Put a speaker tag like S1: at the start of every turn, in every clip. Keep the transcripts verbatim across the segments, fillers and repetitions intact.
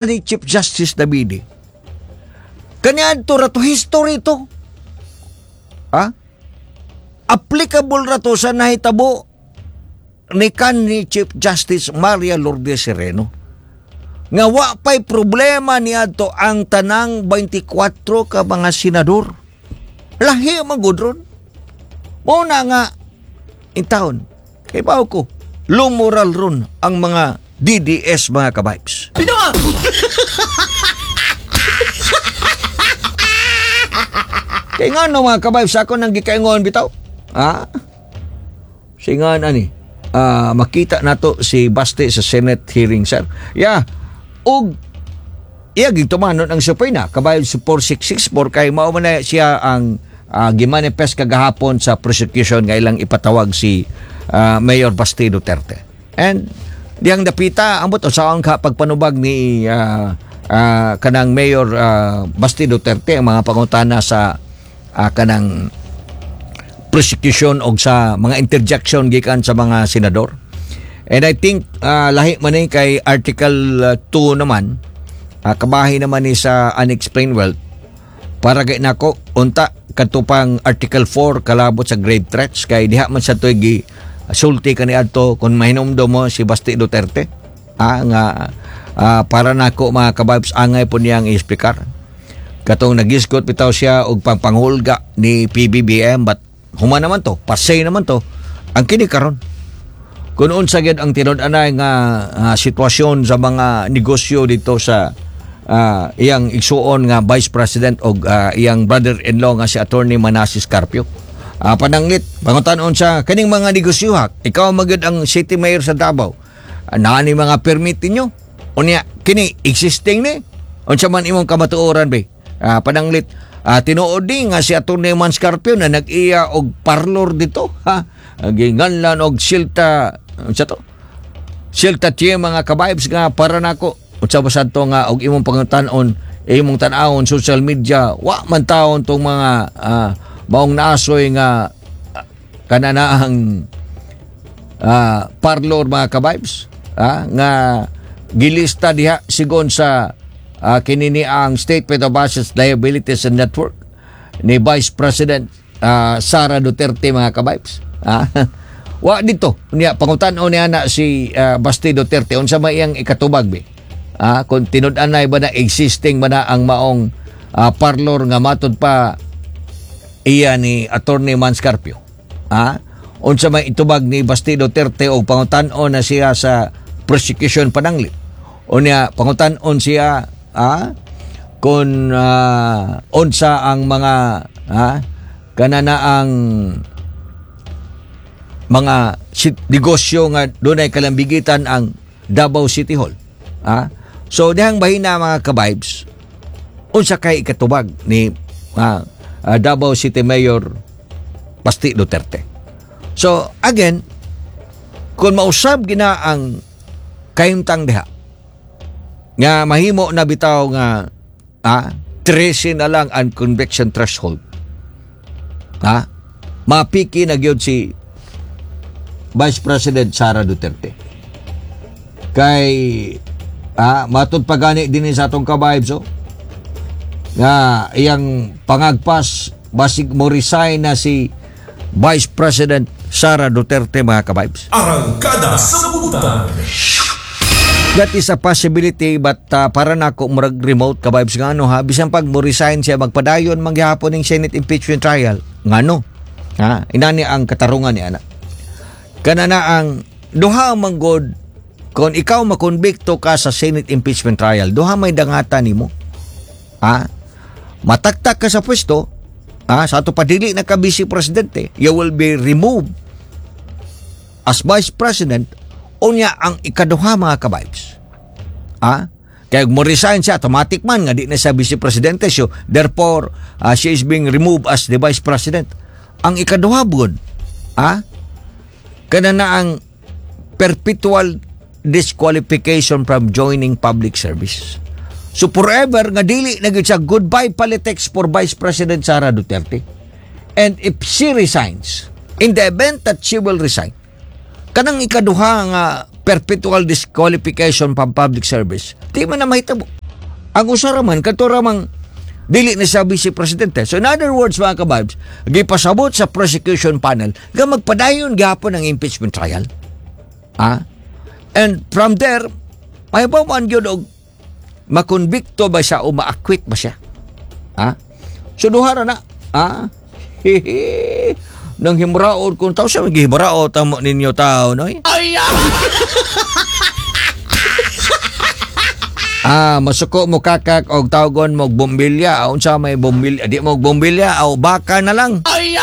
S1: Ni Chief Justice Davide. Kaniadto ra to, history to. Ha? Applicable ra to sa nahitabo ni kanhi Chief Justice Maria Lourdes Sereno. Nga wa pa'y problema niadto ang tanang twenty-four ka mga senador. Lahi man gud ron. Mao na nga intawon. Kay bawo ko, low moral ron ang mga D D S, mga kabibes.
S2: Bitaw!
S1: Kay nga no, mga kabibes, ako nang gikaingon bitaw. Ha? Singan ani. Ah, makita nato si Baste sa Senate hearing, sir. Yeah. Og iya gitumanon ang subpoena, kabayo sa four six six four, kay mao man na siya ang uh, gimanifest kagahapon sa prosecution nga ilang ipatawag si ah, Mayor Basti Duterte. And diyang dapita ambot usaon ka pagpanubag ni ah, ah, kanang Mayor ah, Basti Duterte ang mga pangutana sa ah, kanang prosecution og sa mga interjection gikan sa mga senador. And I think ah, lahi man ni kay Article two naman, uh, kabahi naman ni sa unexplained wealth. Para kay nako unta kadto pang Article four kalabot sa grave threats, kay diha man sa to'y gi sulti kaniadto, kung mahinumdom mo si Basti Duterte. Ah, nga ah, para nako, mga kababs, angay po niyang i-explicar. Katong nagisgot bitaw siya og pangpanghulga ni P B B M, but human naman to, pasay naman to. Ang kini karon, kung unsa gyud ang tinud-anay nga ah, sitwasyon sa mga negosyo dito sa ah, iyang igsuon nga Vice President og ah, iyang brother-in-law nga si Attorney Manasis Carpio. Ah, pananglit, pangutan-on sa kaning mga negosyo ha, ikaw magyud ang city mayor sa Davao. Ah, naa ni mga permit ninyo. Unya kini existing ni. Unsa man imong kamatuoran be? Ah, pananglit, ah, tinuod ni nga si Attorney Mans Carpio na nag-iya og parlor dito ha. Ginganlan og Silta, unsa to? Silta T M, mga kabibes, nga para nako unsa ba sad to nga og imong pangutan-on, imong tan-awon social media, wa man taon tong mga ah, maong naasoy nga ah, kananaang ah, parlor, mga kabibes, ah, nga gilista diha sigon sa ah, kinini ang Statement of Assets, Liabilities and Network ni Vice President ah, Sara Duterte, mga kabibes. Ah, wa dito niya pangutan-on niya na si ah, Basti Duterte unsa may iyang ikatubag be. Ah, kung tinud-anay ba na existing ba na ang maong ah, parlor nga matod pa iya ni Attorney Mans Carpio. Ah, unsa may itubag ni Basti Duterte og pangutan-on na siya sa prosecution pananglit. Unya pangutan-on siya ah kung ah, unsa ang mga ah, kanana ang mga sit- negosyo nga dunay kalambigitan ang Davao City Hall. Ah? So dihang bahina, mga kabibes, unsa kay ikatubag ni ah, ah, Davao City Mayor Basti Duterte. So again, kung mausab gina ang kahimtang diha nga mahimo na bitaw nga ah, thirteen na lang ang conviction threshold. Ha? Mapiki na gyud si Vice President Sara Duterte. Kay ah, matud pa gani din sa atong kabibes oh, nga iyang pangagpas basig mo resign na si Vice President Sara Duterte, mga kabibes.
S2: Arangkada sa Butan.
S1: That is a possibility, but uh, para nako murag remote, kabibes, nga ano ha, bisan pag mo resign siya, magpadayon manggihapon ning Senate impeachment trial. Ngano ha, inani ang katarungan ni ana kana na ang duha manggod. Kung ikaw makonbikto ka sa Senate impeachment trial, duha may dangatan nimo ha: mataktak ka sa pwesto ha, sa ato padili na ka vice presidente, you will be removed as vice president. Unya ang ikaduha, mga kabibes, ah, kaya mo resign siya, automatic man nga di na siya vice presidente, so therefore ah, she is being removed as the vice president. Ang ikaduha bud ah kana na ang perpetual disqualification from joining public service. So forever nga dili na gyud siya, goodbye politics for Vice President Sara Duterte. And if she resigns, in the event that she will resign, Kanang ikaduha nga perpetual disqualification from public service, di man na mahitabo. Ang usa ra man kadto ra mang dili na siya vice presidente. So in other words, mga kababs, gipasabot sa prosecution panel nga magpadayon gihapon ang impeachment trial. Ah? And from there, mahibaw-an gyud og makonbikto ba siya o ma-acquit ba siya? Ha? So duha ra na. Ha? Hihi. Nang himraod kung tao siya, gihimraod tamo ninyo tao, no? Ay! Ah, masuko mo kakak og tawgon mo og bombilya. Unsa may bombilya? Di mo og bombilya o baka na lang. Ay!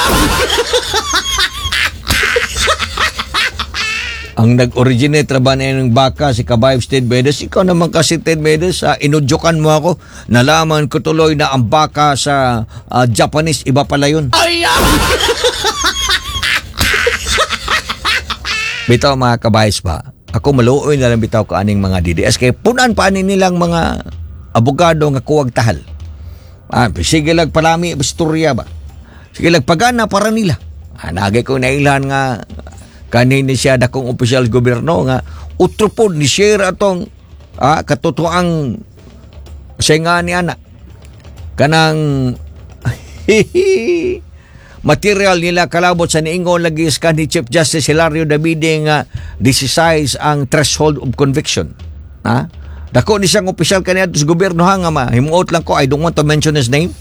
S1: Ang nag-originate ra ba na ng baka si Kabayb Ted Medes? Ikaw naman kasi, Ted Medes, ah, inudyokan mo ako. Nalaman ko tuloy na ang baka sa ah, Japanese, iba pala yun. Ay! Bitaw, mga kabays ba, ako maluoy na lang bitaw ka aning mga D D S kay punan pa ani nilang mga abogado nga kuwag tahal. Ah, sige lang palami istorya ba. Sige lang pagana para nila. Ah, nagay ko nailhan nga kanin ni siya dakong opisyal gobyerno nga utro pod ni share atong ah, katotoang siya nga ni ana kanang material nila kalabot sa niingon lagi sa ni Chief Justice Hilario Davide nga decisize ang threshold of conviction. Ha? Dako ni siyang opisyal kaniadto sa gobyerno ha nga ma. Himuot lang ko, I don't want to mention his name.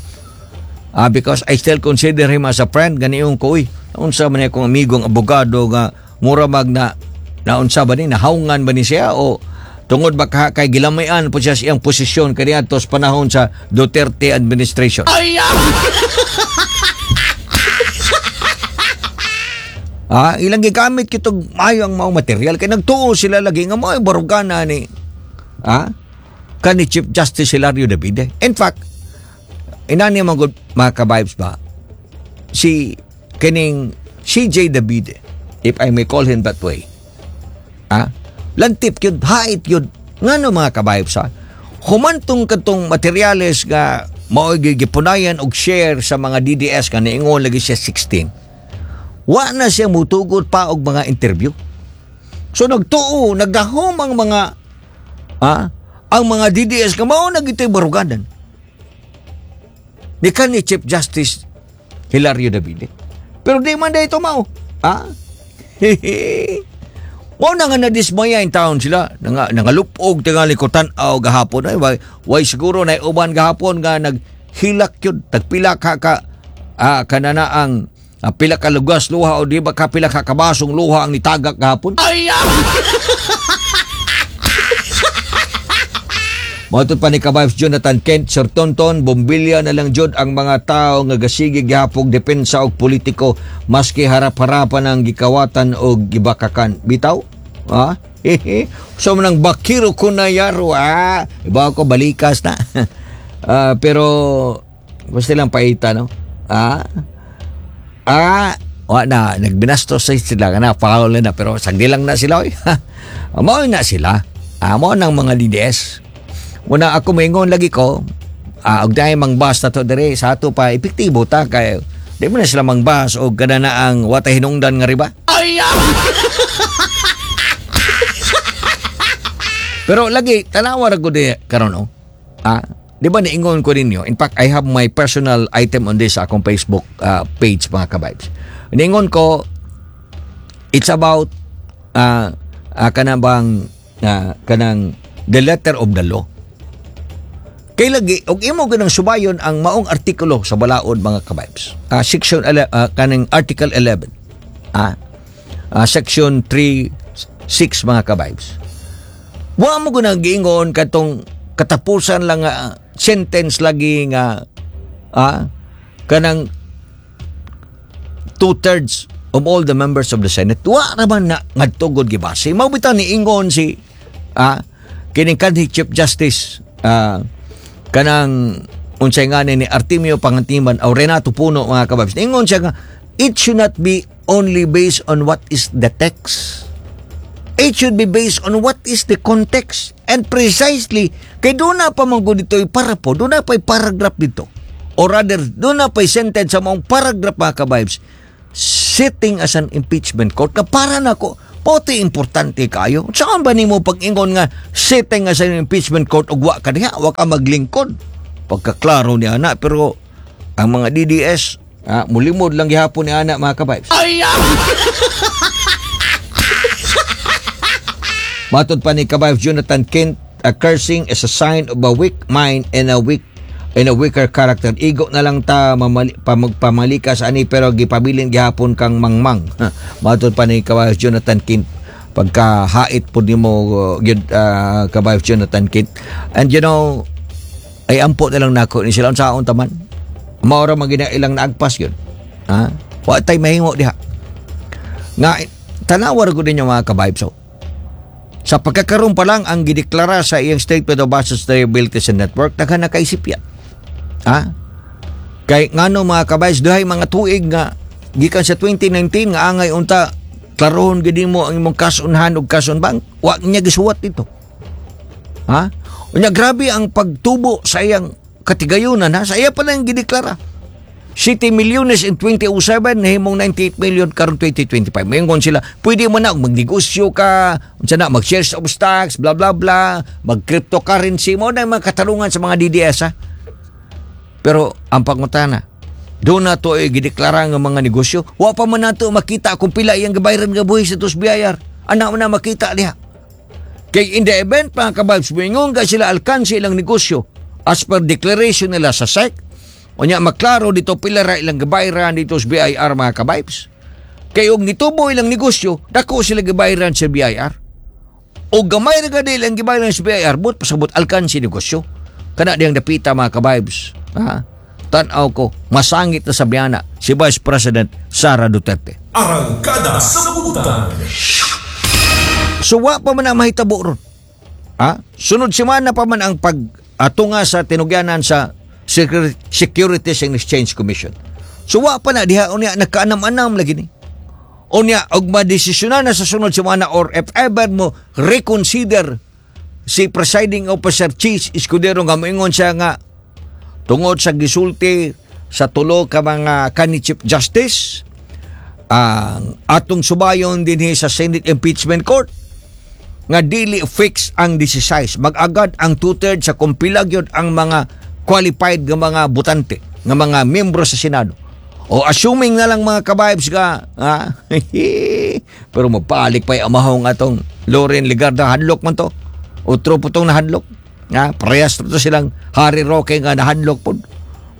S1: Ah, because I still consider him as a friend. Ganiyon ko, uy, unsa man akong amigong abogado nga mura mag na naunsa ba ni, nahaungan ba ni siya o tungod ba ka, kay gilamayan po siya sa iyang posisyon kaniadto sa panahon sa Duterte administration. Ay! Ah, ilang gigamit kitog maayo ang maong material kay nagtuo sila lagi nga mao barugana ni ah kani Chief Justice Hilario Davide. In fact, inani man gud, mga ka-vibes ba, si kining C J Davide, if I may call him that way. Ah, lantip yun, hait yun. Ngano, mga ka-vibes, ha? Humantong katong materyales nga mao gipunayan og share sa mga D D S nga niingon lagi siya sixteen. Wa na siya mutugot pa og mga interview. So nagtuo, nagdahom ang mga ah, ang mga D D S nga mao na gito'y baruganan ni kan ni Chief Justice Hilario Davide. Pero di man ito mao. Ah? Mao na nga nadismaya in town sila. Nga, nangalupog tingali ko tan-aw gahapon. Ay, why, why siguro na uban gahapon nga naghilak yun. Tagpila ka ka ah, kanana ang ah, pila ka lugas luha o di ba ka pila ka kabasong luha ang nitagak gahapon. Ay! Mao pa ni Kabayos Jonathan Kent, Sir Tonton, bombilya na lang jud ang mga tao nga gasige gihapog depensa og politiko maski harap-harapan ang gikawatan og gibakakan. Bitaw? Ha? So manang bakiro ko na yaro, ah. Iba ko balikas na. uh, pero basta lang paita, no? Ah? Ah, wa na nagbinastos sa sila kana foul na pero sagdi lang na sila oy. Mao na sila. Ah, mao nang mga D D S. Muna ako maingon lagi ko, ah, og dahil mangbas na to dire sa ato pa epektibo ta kay di mo na sila mangbas og kada na ang watay hinungdan nga riba. Ay! Pero lagi tanawa ra gud karon, no. Ah, di ba niingon ko ninyo? In fact, I have my personal item on this sa akong Facebook uh, page, mga kabibes. Niingon ko it's about uh, uh, kanang bang uh, kanang the letter of the law. Kay lagi og imo ganang subayon ang maong artikulo sa balaod, mga kabibes. Uh, section uh, kanang article eleven. Ah, uh, section three six, mga kabibes. Wa mo gunang giingon katong katapusan lang uh, sentence lagi nga ah, kanang two-thirds of all the members of the Senate. Wa ra man na ngadtugod gibase. Mao bitaw ni ingon si ah, kining kanhi Chief Justice ah, kanang unsay nga ni Artemio Pangantiman o Renato Puno, mga kababs. Ingon siya nga it should not be only based on what is the text. It should be based on what is the context. And precisely, kay doon na pa man gud dito para po, doon na pa'y paragraph dito. Or rather, doon na pa'y sentence sa maong paragraph, mga kabibes, sitting as an impeachment court, na para na ko, Pote importante kayo. Saan ba nimo pag-ingon nga sitting nga sa impeachment court ug wa ka diha, wa ka maglingkod? Pagkaklaro ni ana, pero ang mga D D S, ah, mulimod lang gihapon ni ana, mga ka-vibes. Matod pa ni ka-vibes Jonathan Kent, a cursing is a sign of a weak mind and a weak and a weaker character. Igo na lang ta mamali, pamagpamalikas ani, pero gipabilin gihapon kang mangmang. Matod pa ni ka-vibes Jonathan Kent, pagkahait po nimo uh, gyud, uh, ka-vibes Jonathan Kent. And you know, ay ampo na lang nako ni sila unsaon taman. Maura man gina ilang naagpas yun. Ha? Wa tay mahimo diha. Nga tanawa ra gud ninyo, mga ka-vibes. So, sa pagkakaroon pa lang ang gideklara sa iyang statement of assets, liabilities and net worth, daghan na kaisip ya. Ha? Kay ngano, mga ka-vibes, duhay mga tuig nga gikan sa twenty nineteen nga angay unta klarohon gid mo ang imong cash on hand ug cash on bank, wa niya gisuwat dito. Ha? Unya grabe ang pagtubo sa iyang katigayunan, ha, sa iya pa lang gideklara. City milyones in two thousand seven, nahimong ninety-eight million karon twenty twenty-five. Moingon sila, pwede mo na magnegosyo ka, unsa na, mag shares of stocks, bla bla bla, mag cryptocurrency mo na yung mga katarungan sa mga D D S, ha. Pero ang pangutana, doon na to ay gideklara nga mga negosyo. Wa pa man nato makita kung pila iyang gabayran nga buhis sa B I R. Ana man na makita diha. Kay in the event, mga ka-vibes, moingon ka sila alkansi ilang negosyo as per declaration nila sa S E C. Unya maklaro dito pila ra ilang gabayran dito sa B I R, mga ka-vibes. Kay og nitubo ilang negosyo, dako sila gabayran sa B I R. O gamay ra gani ilang gibayran sa B I R, but pasabot alkansi negosyo. Kana diyang dapita, mga ka-vibes. Ha? Tan-aw ko, masangit na sa biyana si Vice President Sara Duterte.
S2: Arangkada sa Buntag.
S1: So wa pa man ang mahitabo ron. Ha? Sunod semana pa man ang pag-atunga sa tinugyanan sa Secur- Securities and Exchange Commission. So wa pa na diha, unya nagkaanam-anam lagi ni. Unya og madesisyonan na sa sunod semana or if ever mo reconsider si presiding officer Chiz Escudero nga moingon siya nga tungod sa gisulti sa tulo ka mga kani Chief Justice ang atong subayon dinhi sa Senate Impeachment Court nga dili fix ang sixteen, mag-agad ang two-thirds sa kumpila gyud ang mga qualified nga mga botante nga mga membro sa Senado, o assuming na lang, mga ka-vibes, ka ha? Pero mapalik pa yung amahong atong Loren Legarda, hadlok man to, utro po tong nahadlok, ha? Parehas to silang Harry Roque nga nahadlok pod,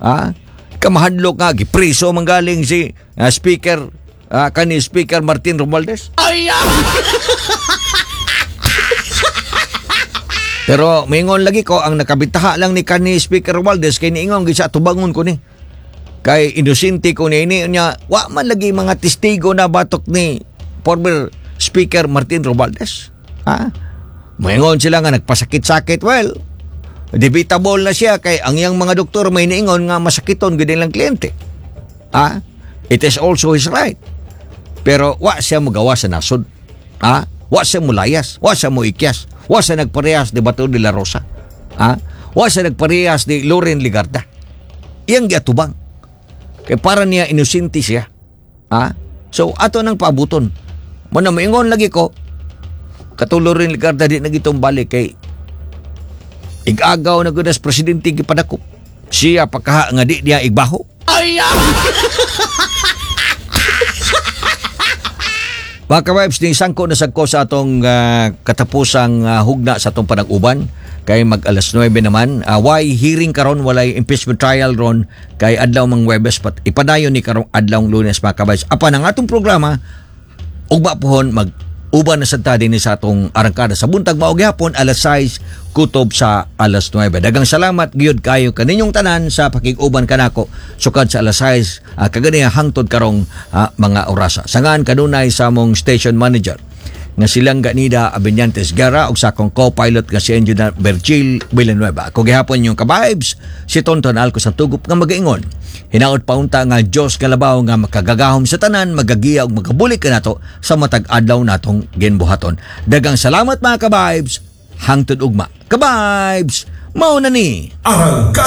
S1: ha? Kamahadlok nga gipriso man galing si ah, speaker, ah, kani Speaker Martin Romualdez. Pero mingon lagi ko, ang nakabitaha lang ni kani Speaker Romualdez kay niingon gid siya, tubangon ko ni. Kay inosente ko ni ini niya, wa man lagi mga testigo na batok ni former Speaker Martin Romualdez. Ha? Moingon sila nga nagpasakit-sakit. Well, debatable na siya kay ang iyang mga doktor may niingon nga masakiton gid ilang kliyente. Ha? It is also his right. Pero wa siya mogawa sa nasod. Ha? Wa siya mulayas, wa siya muikyas, wa siya nagparehas ni Bato de la Rosa. Ha? Wa siya nagparehas ni Loren Legarda. Iyang giatubang. Kay para niya inosente siya. Ha? So ato nang paabuton. Mo na moingon lagi ko kato Loren Legarda di na gitong balik kay igagaw na gud as presidente gipadakop. Siya pagkaha nga di niya igbaho. Mga ka-vibes, ni sangko na sagko sa atong ah, katapusang ah, hugna sa atong panag-uban kay mag alas nuwebe naman. Uh, why hearing karon, walay impeachment trial ron kay adlaw mang Webes, pat ipadayon ni karong adlaw Lunes, mga ka-vibes. Apan ang atong programa ugma pohon mag uban na sad ta dinhi sa atong arangkada sa buntag, mao gihapon alas sais kutob sa alas nuwebe. Daghang salamat gyud kayo kaninyong tanan sa pakig-uban kanako sukad sa alas sais uh, kaganiha hangtod karong ah, mga orasa. Sangan kanunay sa among station manager nga silang Ganida Abenyantes Gara ug sa akong co-pilot nga si Engineer Virgil Villanueva. Ako gihapon yung ka-vibes, si Tonton Alco sa tugup nga magaingon. Hinaot paunta nga Diyos kalabaw nga makagagahom sa tanan, magagiya ug magabulig kanato sa matag adlaw natong ginbuhaton. Daghang salamat, mga ka-vibes, hangtod ugma. Ka-vibes, mao na ni.
S2: Arangkada.